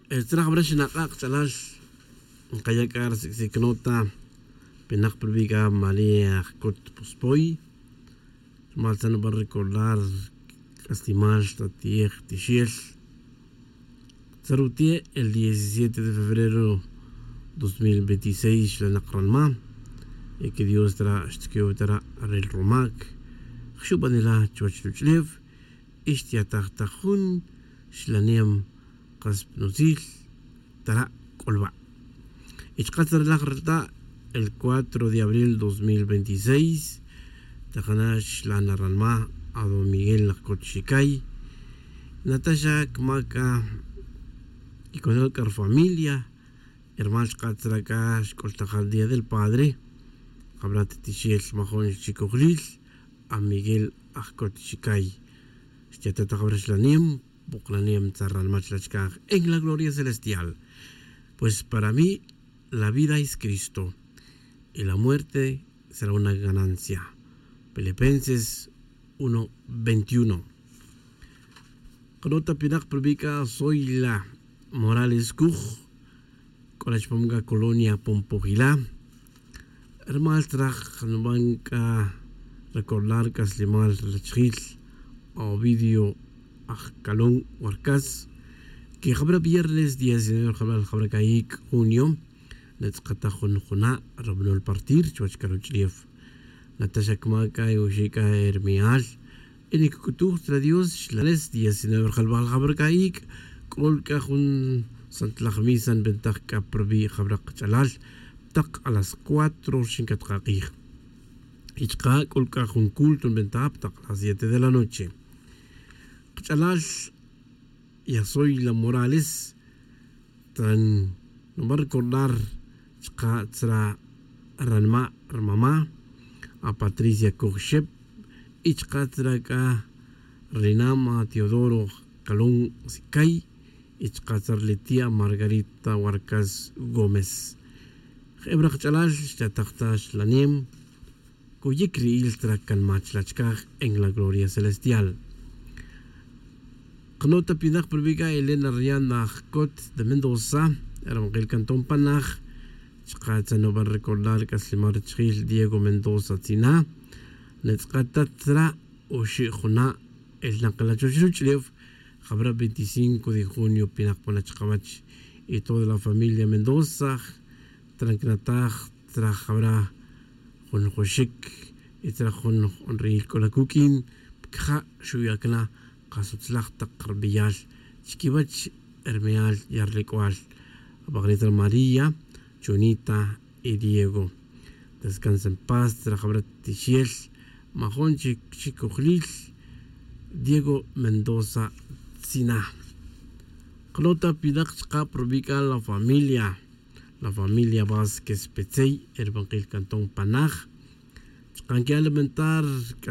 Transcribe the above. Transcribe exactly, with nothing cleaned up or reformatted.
Tzra jabra xinak'a' kach'alal. Nkaya' k'a ri sik'sic nota pinak pa rubi' k'a maría jcot pospoy. Rmal tzra nuban recordar c'aslimal ta ti'ej tixel. Tzra rute' el diecisiete de febrero dos mil veintiséis xlanak ranma. Y que dios tara' xtquew tara' rel rumac. Jxubanila chuwech ruch'ulew y xtyataj ta jun xlanem kas pnutzil. Tara' c'ulba'. Y chka' tzra laj reta' el cuatro de abril dos mil veintiséis. Tajana xlana ranma a don miguel laj cot xicay. Nataxa cma' c'a y conol c'a rufamilia. Hermal chka' tzra c'a xc'ultajal día del padre. Jabra ta tixel majun xchicojlil a miguel aj cot xicay. Xtyatataj jabra xlanem. Buk'lanem tzra ranma chla' chkaj en la gloria celestial. Pues para mí la vida es cristo y la muerte será una ganancia. Filipenses uno veintiuno. Qanota pinak pa rubi' c'a soy la morales cuj. C'o la chupam c'a colonia pompojila. Rumal tzra nuban c'a recordar c'aslimal rachijil ovidio ajcalón warcas. Que jabra viernes diecinueve rjalbal jabra c'a ic' junio. Natz'akataj jun juna' rabanol partir chuwech c'a ruch'ulef. Nataxa cma' c'a oxi' c'a hermeal. Y nicuc'utuj tzra dios xlanes diecinueve rjalbal jabra c'a ic'. C'ol c'a jun santlaj misa nbentaj c'a pa rubi' jabra kach'alal. Tak a las cuatro rxin catkak'ij. Y chka' c'ol c'a jun culto nbentaj pa tak a las siete de la noche. Kach'alal ya soy la morales. Tran nuban recordar chka' tzra ranma' rmama' a patricia coj xep. Y chka' tzra c'a rinama teodoro calón sicay. Y chka' tzra liti' a margarita warcas gómez. Jebra kach'alal xtataj ta xlanem. Cuyic ri'il tzra canma chla' chkaj en la gloria celestial. Qanota pinak pa rubi' c'a elena rianda jcot de mendoza. Rabankil cantón panaj. Chka' tzra nuban recordar c'aslimal rachijil diego mendoza tzina. Natz'akataj tzra oxi' juna' elnak la chuwech ruch'ulef. Jabra veinticinco de junio pinak pona chkawech. Y toda la familia mendoza. Tran canataj tzra jabra jun joxic. Y tzra jun jun ri'il c'o la cuq'uin. Pcaja' xuya' cana. Kasutzlaj tak rbeyal chiquiwech. Hermeal yarlec'ual. Abaknitra maría chunita y diego. Descansa en paz tzra jabra tixel. Majun chic chicojlil. Diego mendoza tzina. Qanota pinak chka' pa rubi' c'a la familia. La familia vásquez petzey erbankil cantón panaj. Chka' nquiya' lamentar c'a